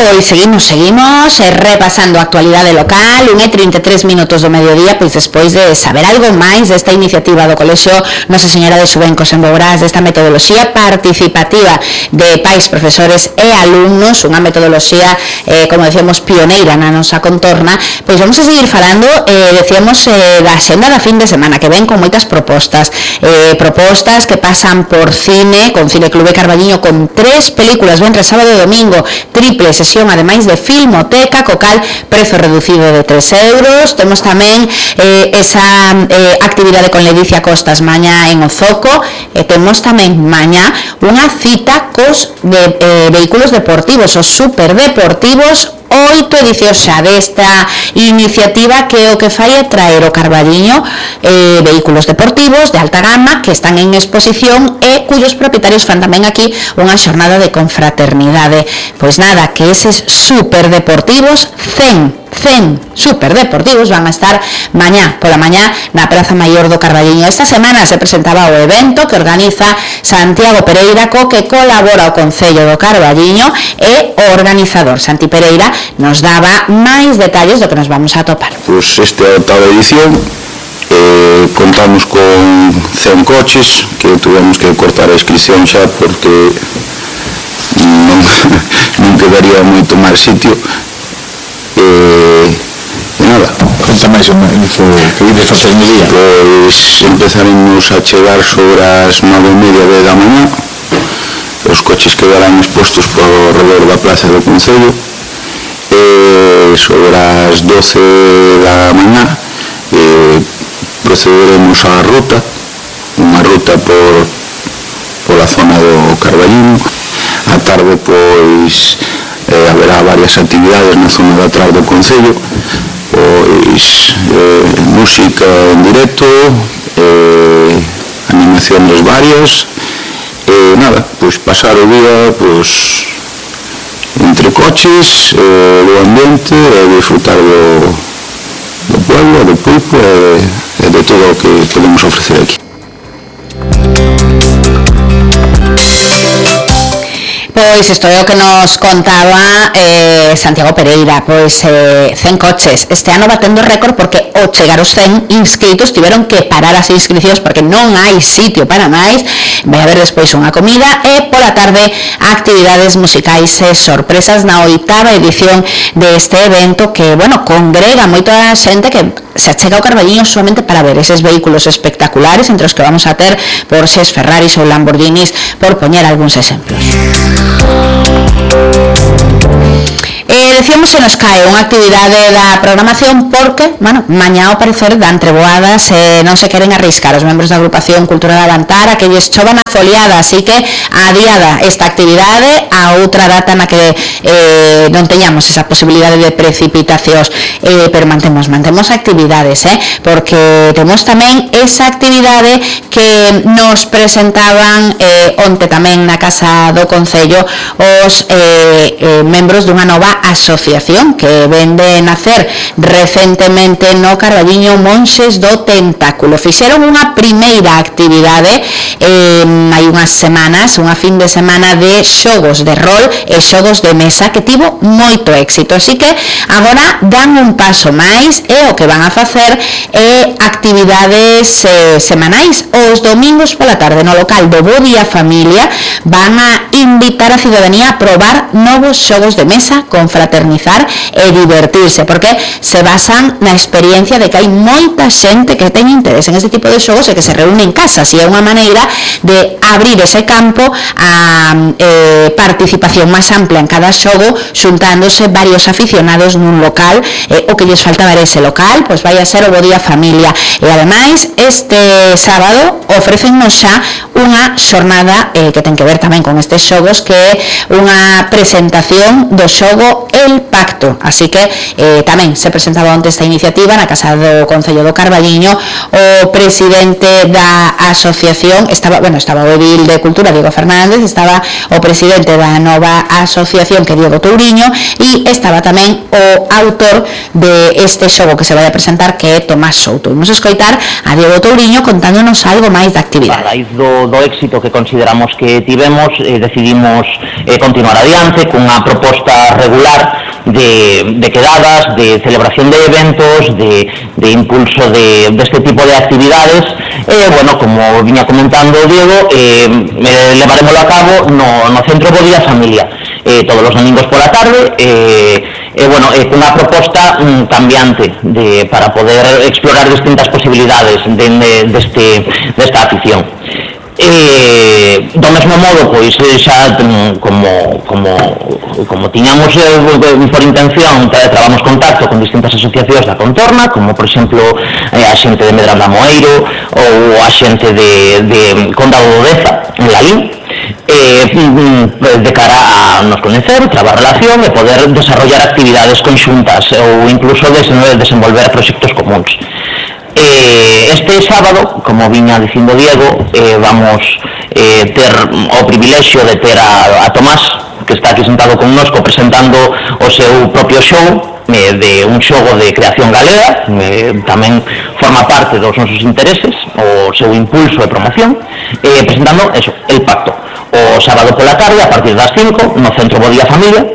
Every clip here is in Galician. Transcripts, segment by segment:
pois seguimos repasando a actualidade local, 1:33 minutos do mediodía, pois despois de saber algo máis desta iniciativa do Colexio Nosa Señora de Xubencos en Bourás, desta metodoloxía participativa de pais, profesores e alumnos, unha metodoloxía, como decíamos, pioneira na nosa contorna, pois vamos a seguir falando, decíamos, da xenda da fin de semana, que ven con moitas propostas que pasan por cine, con Cine Clube Carballiño, con 3 películas, venres, sábado e domingo, triple sesión, ademais de Filmoteca, co cal prezo reducido de 3 euros. Temos tamén esa actividade con Ledicia Costas mañá en Ozoco, e temos tamén mañá unha cita cos vehículos deportivos, os superdeportivos, 8 edicións xa desta iniciativa, que o que fai é traer o Carballiño vehículos deportivos de alta gama que están en exposición e cuyos propietarios fan tamén aquí unha xornada de confraternidade. Pois nada, que eses superdeportivos, 100 superdeportivos van a estar mañá pola mañá na Praza Maior do Carballiño. Esta semana se presentaba o evento que organiza Santiago Pereira, co que colabora o Concello do Carballiño, e o organizador Santi Pereira nos daba máis detalles do que nos vamos a topar. Pois esta é a oitava edición, contamos con 100 coches que tuvemos que cortar a inscripción xa porque non quedaría moito máis sitio. Nada, conta máis o que ides facer no día. Pois empezaremos a chegar sobre as 9:30 da mañá. Os coches quedarán expostos por redor da plaza do Concello, e sobre as 12 da mañá procederemos á ruta, unha ruta pola zona do Carballiño. A tarde, pois, haberá varias actividades na zona de atrás do Concello, pois música en directo, animaciones varias, nada, pois pasar o día pois entre coches, do ambiente, e disfrutar do pueblo, do pulpo e de todo o que podemos ofrecer aquí. Pois isto é o que nos contaba Santiago Pereira, pois 100 coches. Este ano batendo récord porque ao chegar os 100 inscritos tiveron que parar as inscricións porque non hai sitio para máis. Vai haber despois unha comida e pola tarde actividades musicais e sorpresas na 8ª edición deste evento que, bueno, congrega moita xente que se achega ao Carballiño solamente para ver eses vehículos espectaculares, entre os que vamos a ter Porsches, Ferraris ou Lamborghinis, por poñer algúns exemplos. Decíamos que nos cae unha actividade da programación porque, bueno, mañá ao parecer dan treboadas e non se queren arriscar os membros da agrupación Cultura de Avantar a que lles chovan a foliada, así que adiada esta actividade a outra data na que non teñamos esa posibilidade de precipitacións, pero mantemos actividades, porque temos tamén esa actividade que nos presentaban onte tamén na Casa do Concello os membros dunha nova asociación que vende nacer recentemente no Carballiño, Monxes do Tentáculo. Fixeron unha primeira actividade hai unhas semanas, unha fin de semana de xogos de rol e xogos de mesa que tivo moito éxito, así que agora dan un paso máis e o que van a facer é actividades semanais. Os domingos pola tarde no local do Bo Día Familia van a invitar a ciudadanía a probar novos xogos de mesa, confraternizar e divertirse, porque se basan na experiencia de que hai moita xente que ten interés en este tipo de xogos e que se reúne en casa, e é unha maneira de abrir ese campo a participación máis amplia en cada xogo, xuntándose varios aficionados nun local. O que lles faltaba era ese local, pois vai a ser o Bo Día Familia, e ademais este sábado ofrecennos xa unha xornada que ten que ver tamén con estes xogos, que é unha presentación do xogo El pacto, así que tamén se presentaba onte esta iniciativa na Casa do Concello do Carballiño. O presidente da asociación estaba o edil de Cultura, Diego Fernández, estaba o presidente da nova asociación, que é Diego Touriño, e estaba tamén o autor de este xogo que se vai a presentar, que é Tomás Souto. Vamos a escoitar a Diego Touriño contándonos algo máis da actividade. A raíz do éxito que consideramos que tivemos, decidimos continuar adiante cunha proposta regular de quedadas, de celebración de eventos, de impulso deste tipo de actividades. Como viña comentando o Diego, levaremoslo a cabo no Centro Bo Día Familia, todos os domingos pola tarde, cunha proposta cambiante para poder explorar distintas posibilidades desta afición. Do mesmo modo, pois xa como tiñamos por intención, trabamos contacto con distintas asociacións da contorna, como por exemplo a xente de Medrando Amoeiro ou a xente de Condado do Deza en Lalín, de cara a nos coñecer, trabar relación e poder desarrollar actividades conxuntas ou incluso desenvolver proxectos comuns. Este sábado, como viña dicindo Diego, vamos ter o privilexio de ter a Tomás, que está aquí sentado connosco presentando o seu propio show, de un xogo de creación galega, tamén forma parte dos nosos intereses, o seu impulso e promoción, presentando eso, El Pacto, o sábado pola tarde a partir das 5 no Centro Bo Día Familia.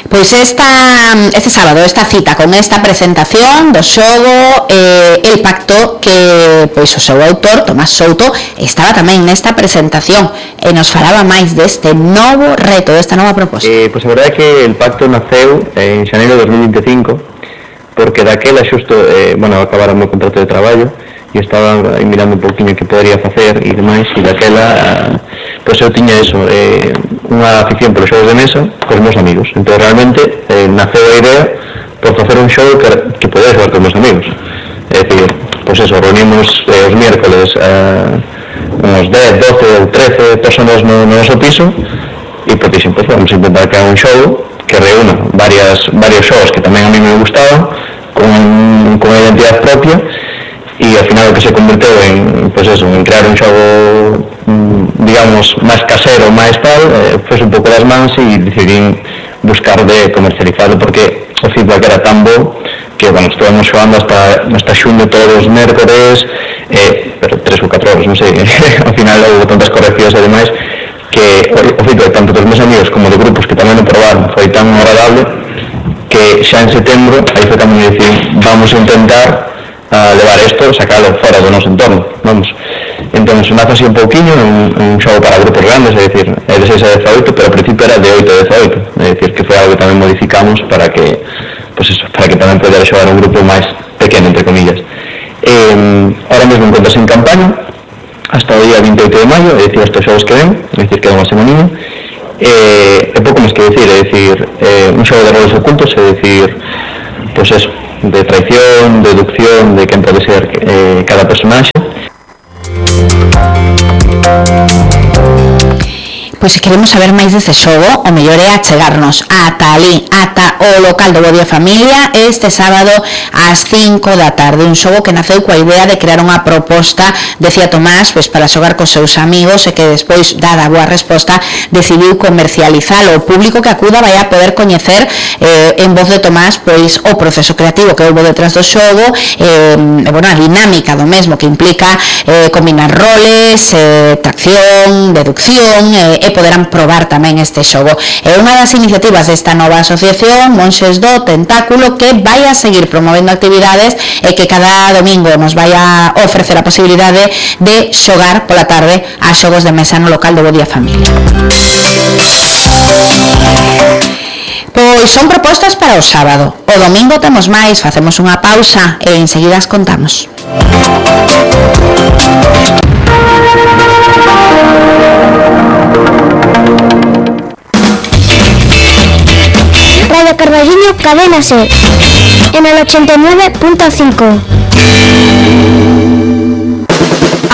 Pois este sábado, esta cita con esta presentación do xogo El Pacto, que pois o seu autor, Tomás Souto, estaba tamén nesta presentación e nos falaba máis deste novo reto, desta nova proposta. Pois a verdade é que El Pacto naceu en xaneiro de 2025, porque daquela xusto, acabara o meu contrato de traballo e estaba mirando un pouquinho que podería facer e demais, e daquela pois eu tiña eso, unha afición polos xogos de mesa cos meus amigos. Entón realmente naceu a idea por facer un xogo que podía xogar cos meus amigos. É dicir, pois eso, reunimos os miércoles uns 10, 12 ou 13 personas no noso piso e pois dixen, pois vamos a intentar crear un xogo que reúna varios xogos que tamén a mí me gustaban con unha identidade propia, e ao final o que se converteu en crear un xogo digamos máis casero, máis tal, foi un pouco das mans e decidín buscar de comercializarlo, porque o feedback era tan bo que, estuvamos xogando hasta xuño todos os mércores, pero 3 ou 4 horas, non sei, ao final houve tantas correccións e demais que o feedback tanto dos meus amigos como de grupos que tamén o probaron foi tan agradable que xa en setembro aí foi cando me dicín, vamos a intentar levar isto, sacalo fora do noso entorno, vamos. Entón, nace así un pouquiño, un xogo para grupos grandes, é dicir, é de 6 a 18, pero ao principio era de 8 a 18, é dicir, que foi algo que tamén modificamos para que tamén podera xogar un grupo máis pequeno, entre comillas. Ahora mesmo encontras en campaña, hasta o día 28 de maio, é dicir, estes xogos que ven, é dicir, que é unha semaninha, é pouco máis que dicir, é dicir, un xogo de roles ocultos, é dicir, pois eso, de traición, de deducción, de quen pode ser cada personaxe. Pois se queremos saber máis deste xogo, o mellor é achegarnos ata ali, ata o local do Bo Día Familia, este sábado ás 5 da tarde. Un xogo que naceu coa idea de crear unha proposta, decía Tomás, pois para xogar cos seus amigos, e que despois, dada a boa resposta, decidiu comercializalo. O público que acuda vai a poder coñecer en voz de Tomás pois o proceso creativo que houve detrás do xogo, a dinámica do mesmo, que implica combinar roles, tracción, deducción, e poderán probar tamén este xogo. É unha das iniciativas desta nova asociación, Monxes do Tentáculo, que vai a seguir promovendo actividades e que cada domingo nos vai a ofrecer a posibilidade de xogar pola tarde a xogos de mesa no local do Bo Día Familia. Pois son propostas para o sábado. O domingo temos máis, facemos unha pausa e enseguida as contamos. Radio Carballiño, Cadena SER, en el 89.5.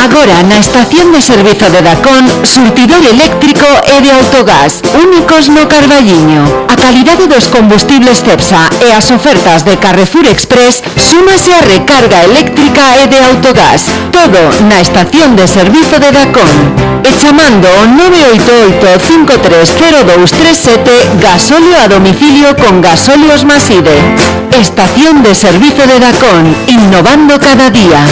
Agora na estación de servizo de Dacón, surtidor eléctrico e de autogás, únicos no Carballiño. A calidade dos combustibles Cepsa e as ofertas de Carrefour Express súmase a recarga eléctrica e de autogás. Todo na estación de servizo de Dacón. E chamando o 988-530237 gasóleo a domicilio con Gasóleos Maside. Estación de servizo de Dacón, innovando cada día.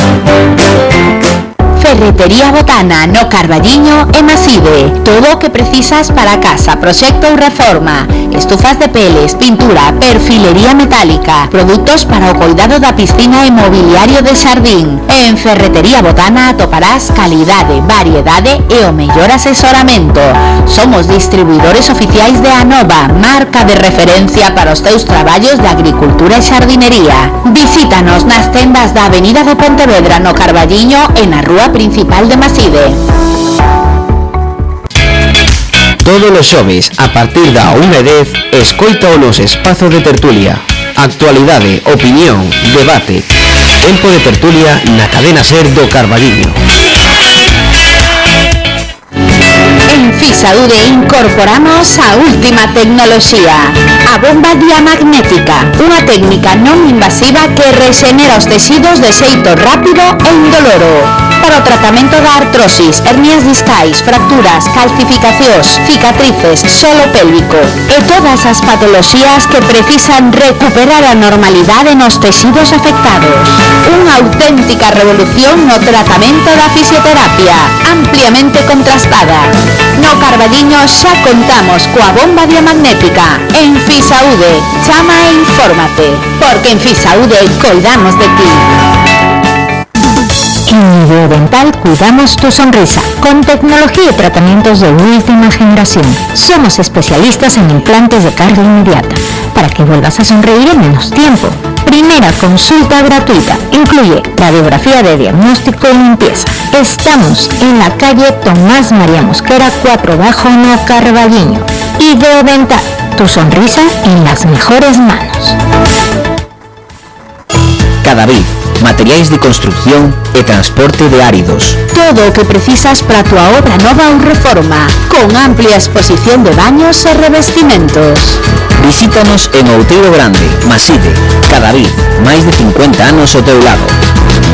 Ferretería Botana no Carballiño e Maside. Todo o que precisas para casa, proxecto ou reforma. Estufas de peles, pintura, perfilería metálica, produtos para o cuidado da piscina e mobiliario de xardín. En Ferretería Botana atoparás calidade, variedade e o mellor asesoramento. Somos distribuidores oficiais de Anova, marca de referencia para os teus traballos de agricultura e xardinería. Visítanos nas tendas da Avenida de Pontevedra no Carballiño e na Rúa Principal de Maside. Todos os xoves, a partir da 1:10, escoita o nos espazo de tertulia. Actualidade, opinión, debate. Tempo de tertulia na cadena SER do Carballiño. En Fisaude incorporamos a última tecnoloxía, a bomba diamagnética, unha técnica non invasiva que rexenera os tecidos de xeito rápido e indoloro. Para o tratamento da artrosis, hernias discais, fracturas, calcificacións, cicatrices, solo pélvico e todas as patoloxías que precisan recuperar a normalidade nos tecidos afectados. Unha auténtica revolución no tratamento da fisioterapia, ampliamente contrastada. No Carballiño xa contamos coa bomba diamagnética. En Fisaude, chama e infórmate, porque en Fisaude coidamos de ti. En Ideodental cuidamos tu sonrisa, con tecnología y tratamientos de última generación. Somos especialistas en implantes de carga inmediata, para que vuelvas a sonreír en menos tiempo. Primera consulta gratuita, incluye radiografía de diagnóstico y limpieza. Estamos en la calle Tomás María Mosquera 4 Bajo no Carballiño. Ideodental, tu sonrisa en las mejores manos. Cadavid, materiais de construcción e transporte de áridos. Todo o que precisas para a tua obra nova ou reforma, con amplia exposición de baños e revestimentos. Visítanos en Outeiro Grande, Maside. Cadavid, máis de 50 anos ao teu lado.